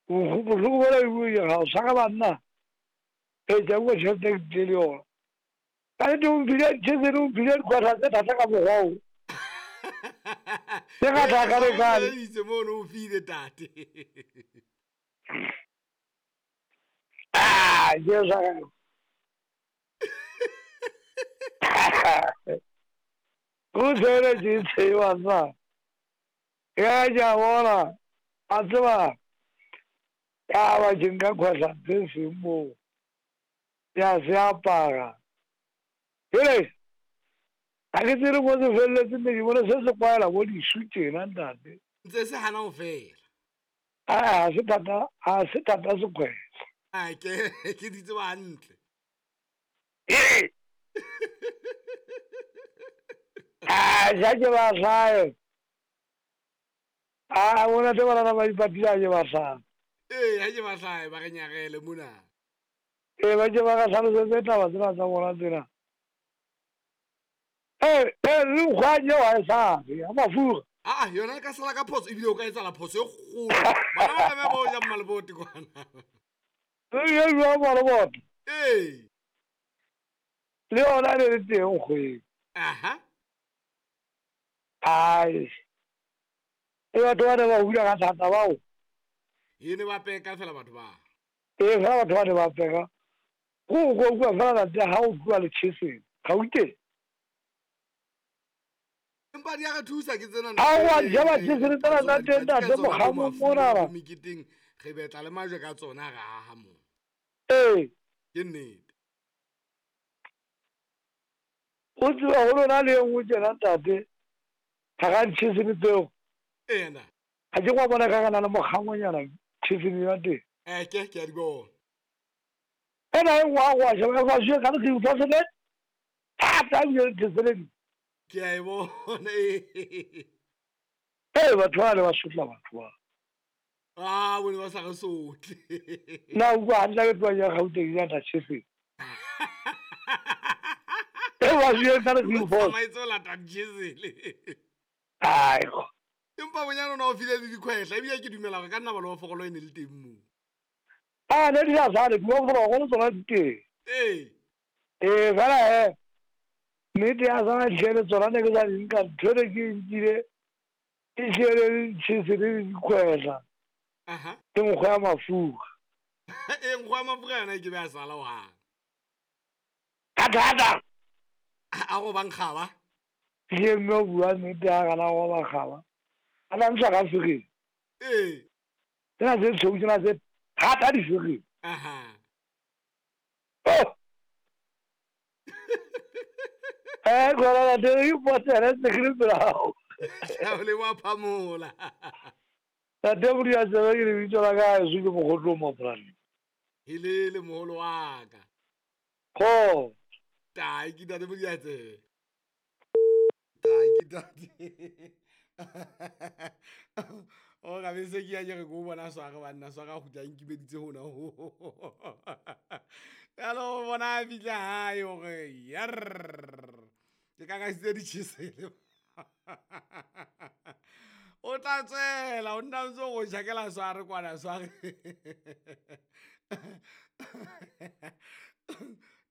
Bohloko bola e bue ga o tshwara banna. Ee, ke a bua tšhelete ke tlile le yona. Ka nnete o mphile tšhesele, o mphile dikwata tse thata ka mokgwa o. Ke ga thaka le kale. Itse mono o file tate. Ah, Jesu a ka. Go tsheletše tseba sa. Ya ja bona. A tseba. Ya ba ke nka khwahla se seng moo. Ya se apara. Jale ga ke tsere mo se feleletse ne ke bone se se kwaela bo disu tjena ntate. Ntse se hana ho fela. A se thata, a se thata sekhwehla. A ke di tseba hantle. Ee. A ja ke ba hlae. A bona te bana ba ipatile a ke ba hlae. Ee, ha ke ba hlae ba re nyarele mona. Ee, ba ke ba ka hlalosetse taba tsena tsa bona tsena. Ee, ee, le nkgwanye wa e sabe, ya mafura. Aa, yona e ka sala ka phoso ebile o ka etsala phoso e kgolo. Bana ba tlameha ba o ja mmalebote kwana. Le jwa mmalebote. Ee. Le yona e le teng kgweng. Aha. Ai. E batho ba ne ba hula ka thata bao. E ne ba peka fela batho ba. Ee, fela batho ba ne ba peka. Go go bua fela ntate ha o tloa le cheseng. Gauteng. Empa di a re thusa ke tsena. Ha wa ja ba cheseng tsena tsa teng ntate mokgamo mona. Meketeng re betla le majwe ka tsona ra aha mo. Ee. Ke nnete. O tseba go lona le e nngwe tjena ntate. Ga ga cheseng tseo. Ena. Ga ke kwa bona ka kana le mokgangonyana cheseng ya teng. Ke a di bona. Ena e nngwe a go a sheba fa jwe ka re utlwa sele. Thata ebile le theseledi. Ke a e bona. Ee, batho ba le ba sotla batho ba. Ah, bone ba sa re sotle. Nna utlwa hantle ke tloa ya Gauteng ya ta cheseng. E ba jwe ka re utlwa. Tsamaitse o lata chesele. Ai. Empa bonyane o ne o file le dikhwehla ebile ke dumela gore ka nna ba le fogolo e ne le teng mo. A ne di sa sale di fogolo tsona di teng. Ee. Ee, fela he nnete ya sana dihlele tsona ne ke sa di nka ntho ne ke nkile e hlele le ditšhese le dikhwehla. Aha. Ke nkgo ya mafura. Ee, nkgo ya mafura yona e ke be a sala hohang. Ka thata. A go bang kgaba. Ke mme o bua nnete ya gana go ba kgaba. A la ntsha ka fegeng. Ee. Tsena tse tshweu tsena tse thata di fegeng. Aha. Oh. Eh, gona la teng e potele tse ke le pela hao. O le wa phamola. Tate Modia tsebe ke lebitso la ka heso ke Mokgotlo Maporane. Helele moholo wa ka. Ko. Tai ke tate Modia tsebe. Tai ke tate. O ga bese ke ya ke re ko bona sware banna sware a kgutla nkimeditse hona ho. Jalo bona a fihla hae hore yar. Ke ka ka ditšhesele. O tla tswela o nna ntse go jakela sware kwana sware.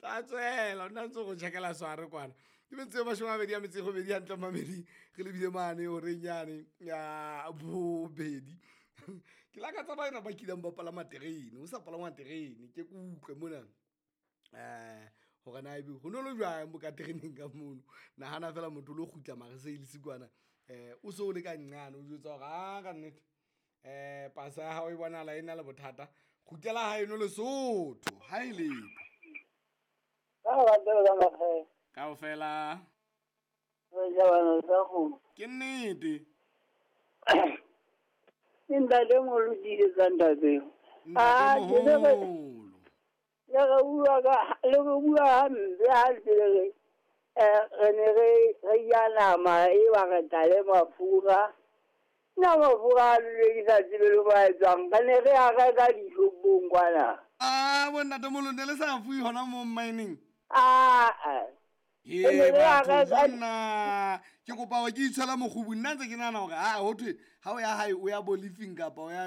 Tla tswela o nna ntse go jakela sware kwana. Ke metsotso e mashome a mabedi a metso e robedi hantle mamedi re lebile mane horeng yane ya bobedi. Ke lakatsa ba ba kileng ba palama terene, o sa palama terene ke kutlwe mona. Hore na ebe ho no le jwang bo ka tereneng ka mono. Nahana fela motho o lo kgutla Marseilles kwana. O so le ka nqane o jwetsa hore a ka nnete. Pasa ya hao e bonahala e na le bothata. Kgutlela haeno Lesotho, ha e letho. Kaofela. Ke nnete. Ke ntate moholo tiisetsa ntate. Ntate moholo. Le re bua ka le re bua hampe ha ntse le re re ne re ja nama e ba re tla le mafura. Nna mafura a lule ke sa tsebe le ba etsang. Re ne re a reka dishopong kwana. Ah, bo ntate moholo ne le sa fuwe hona mo mining. Ah. Ee, batho nna ke kopa hore ke itshwela mokgubu nna ntse ke nahana hore ha ho thwe ha o ya hae o ya bo leafing kapa o ya